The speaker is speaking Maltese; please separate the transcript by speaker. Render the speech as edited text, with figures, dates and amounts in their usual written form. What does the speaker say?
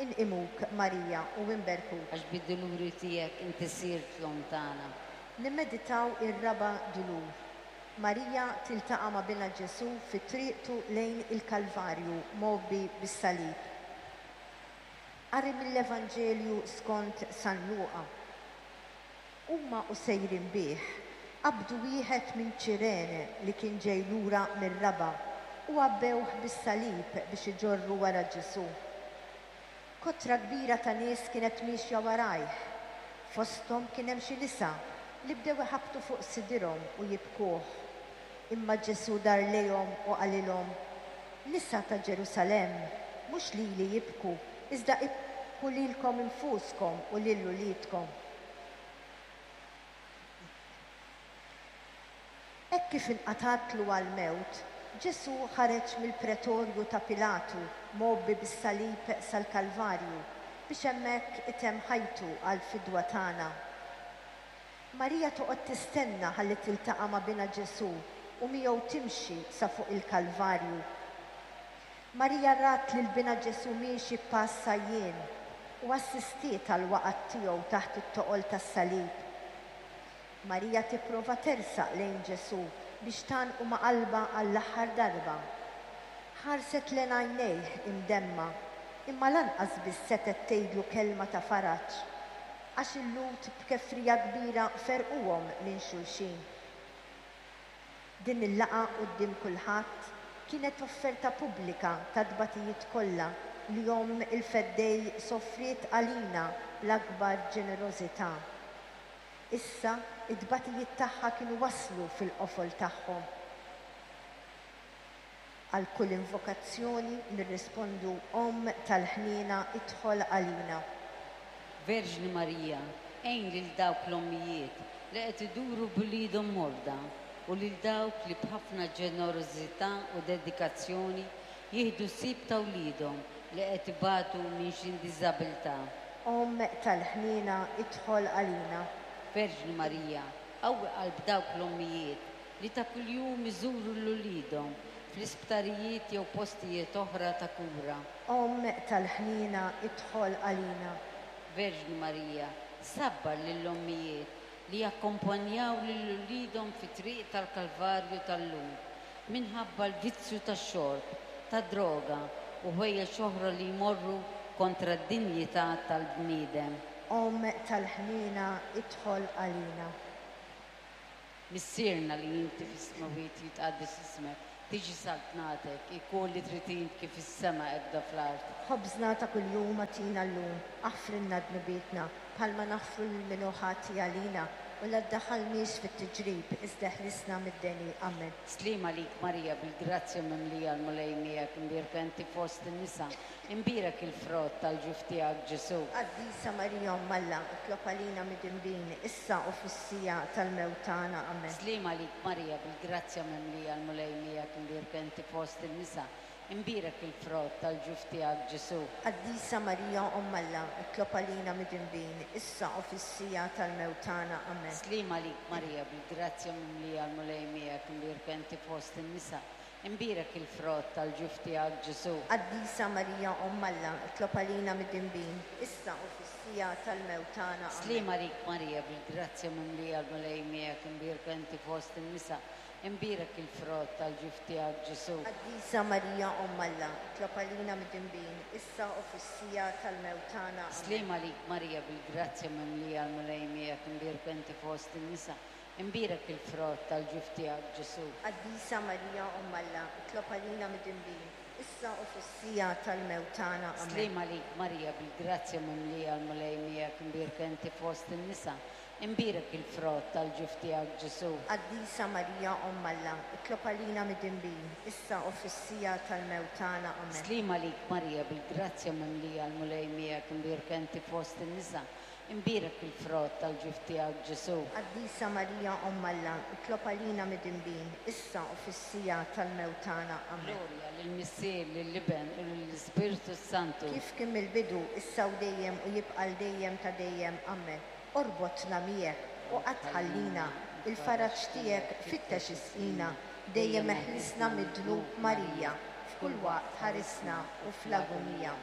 Speaker 1: Inqimuk, Marija, u inberkuk.
Speaker 2: Għax bid-duluri tiegħek inti sirt l-Omm tagħna.
Speaker 1: Nimmeditaw ir-raba' dulur. Marija tiltaqa' ma' Binha Ġesù fi triqtu lejn il-Kalvarju mgħobbi bis-salib. Qari mill-Evanġelju skont San Luqa. Huma u sejrin bih, qabdu wieħed minn Ċirene li kien ġej lura mir-raba' u għabbewh bis-salib biex iġorru wara Ġesù. Kotra kbira ta' nies kienet miexja warajh. Fosthom kien hemm xi nisa li bdew iħabbtu fuq sidirhom u jibkuh. Imma Ġesù dar lejhom u qalilhom, Nisa ta' Ġerusalemm, mhux lili ibku, iżda ibku lilkom infuskom u lil uliedkom. Hekk kif inqatgħatlu għall-mewt, Ġesù ħareġ mill-pretorju ta' Pilatu mgħobbi bis-salib sal-Kalvarju biex hemmhekk itemm ħajtu għall-fidwa tagħna. Marija toqgħod tistenna ħalli tiltaqa' ma' binha Ġesù u miegħu timxi sa fuq il-Kalvarju. Marija rat lil binha Ġesù miexi b'pass għajjien u assistiet għall-waqgħat tiegħu taħt it-toqol tas-salib. Marija tipprova tersaq lejn Ġesù biex tgħannqu ma' qalbha għall-aħħar darba. Ħarset lejn għajnejh imdemma, imma lanqas biss setgħet tgħidlu kelma ta' faraġ, għax il-Lhud b'kefrija kbira ferquhom minn xulxin. Din il-laqgħa quddiem kulħadd kienet offerta pubblika tat-tbatijiet kollha li Omm il-Feddej sofriet għalina bl-akbar ġenerożità. Issa, it-tbatijiet tagħha kienu waslu fil-qofol tagħhom. Għal kull invokazzjoni nirrispondu Omm tal-ħniena idħol għalina.
Speaker 2: Verġni Marija, għin lil dawk l-ommijiet li qed iduru b'uliedhom morda u lil dawk li b'ħafna ġenerożità u dedikazzjoni jieħdu ħsieb ta' wliedhom li qed ibatu minn xi diżabilità.
Speaker 1: Omm tal-ħniena idħol għalina.
Speaker 2: Verġni Marija, qawwi qalb dawk l-ommijiet li ta' kuljum iżuru 'l uliedhom fl-isptarijiet jew postijiet oħra ta' kura.
Speaker 1: Omm tal-ħniena idħol għalina.
Speaker 2: Verġni Marija, sabbar lill-ommijiet li jakkompanjaw lil uliedhom fit-triq tal-Kalvarju tal-lum minħabba l-vizzju tax-xorb, tad-droga u ħwejjeġ oħra li jmorru kontra d-dinjità tal-bniedem.
Speaker 1: Omm tal-ħniena idħol għalina.
Speaker 2: Missierna li inti fis-smewwiet jitqaddes ismek, tiġi saltnatek, ikun li trid int kif fis-sema hekda fl-art.
Speaker 1: Ħobżna ta' kuljum agħtina llum, aħfrilna dnubietna, bħalma naħfru lil min hu ħati għalina, u la ddaħħalniex fit-tiġrib, iżda eħlisna mid-deni. Amen.
Speaker 2: Sliem għalik Marija bil-grazzja mimlija l-Mulej miegħek imbierka inti fost in-nisa, imbierek il-frott tal-ġuf tiegħek Ġesù.
Speaker 1: Qaddisa Marija Omm Alla, itlob għalina midinbin, issa u fis-siegħa tal-mewt tagħna. Amen.
Speaker 2: Sliem għalik Marija bil-grazzja mimlija l-Mulej miegħek imbierka inti fost in-nisa, Imbierek il-frott tal-ġuf tiegħek Ġesù.
Speaker 1: Qaddisa Marija Omm Alla, itlob għalina midinbin, issa u fis-siegħa tal-mewt tagħna. Amen.
Speaker 2: Sliem għalik Marija, bil-grazzja mimlija l-Mulej miegħek, imbierka inti fost in-nisa, imbierek il-frott tal-ġuf tiegħek Ġesù.
Speaker 1: Qaddisa Marija Omm Alla, itlob għalina midinbin, issa u fis-siegħa tal-mewt tagħna. Amen.
Speaker 2: Sliem għalik Marija, bil-grazzja mimlija l-Mulej miegħek, imbierka inti fost in-nisa, Imbierek il-frott tal-ġuf tiegħek Ġesù.
Speaker 1: Qaddisa Marija Omm Alla, itlob għalina midinbin, issa u fis-siegħa tal-mewt tagħna. Amen.
Speaker 2: Sliem għalik Marija bil-grazzja mimlija l-Mulej miegħek imbierka inti fost in-nisa, imbierek il-frott tal-ġuf tiegħek Ġesù.
Speaker 1: Qaddisa Marija Omm Alla, itlob għalina midinbin, issa u fis-siegħa tal-mewt tagħna. Amen.
Speaker 2: Sliem għalik Marija bil-grazzja mimlija l-Mulej miegħek imbierka inti fost in-nisa, Imbierek il-frott tal-ġuf tiegħek Ġesù.
Speaker 1: Qaddisa Marija Omm Alla, itlob għalina midinbin, issa u fis-siegħa tal-mewt tagħna. Amen.
Speaker 2: Sliem għalik Marija bil-grazzja mimlija l-Mulej miegħek imbierka inti fost in-nisa, imbierek il-frott tal-ġuf tiegħek Ġesù.
Speaker 1: Qaddisa Marija Omm Alla, itlob għalina midinbin, issa u fis-siegħa tal-mewt tagħna. Amen.
Speaker 2: Glorja lill-Missier, lill-Iben u lill-Ispirtu s-Santu.
Speaker 1: Kif kien mill-bidu, issa u dejjem u jibqa' għal dejjem ta' dejjem. Amen. Orbotna miegħek u qatt tħallina, il-faraġ tiegħek fittex isqina, dejjem eħlisna mid-dnub Marija, f'kull waqt ħarisna u fl-agunija.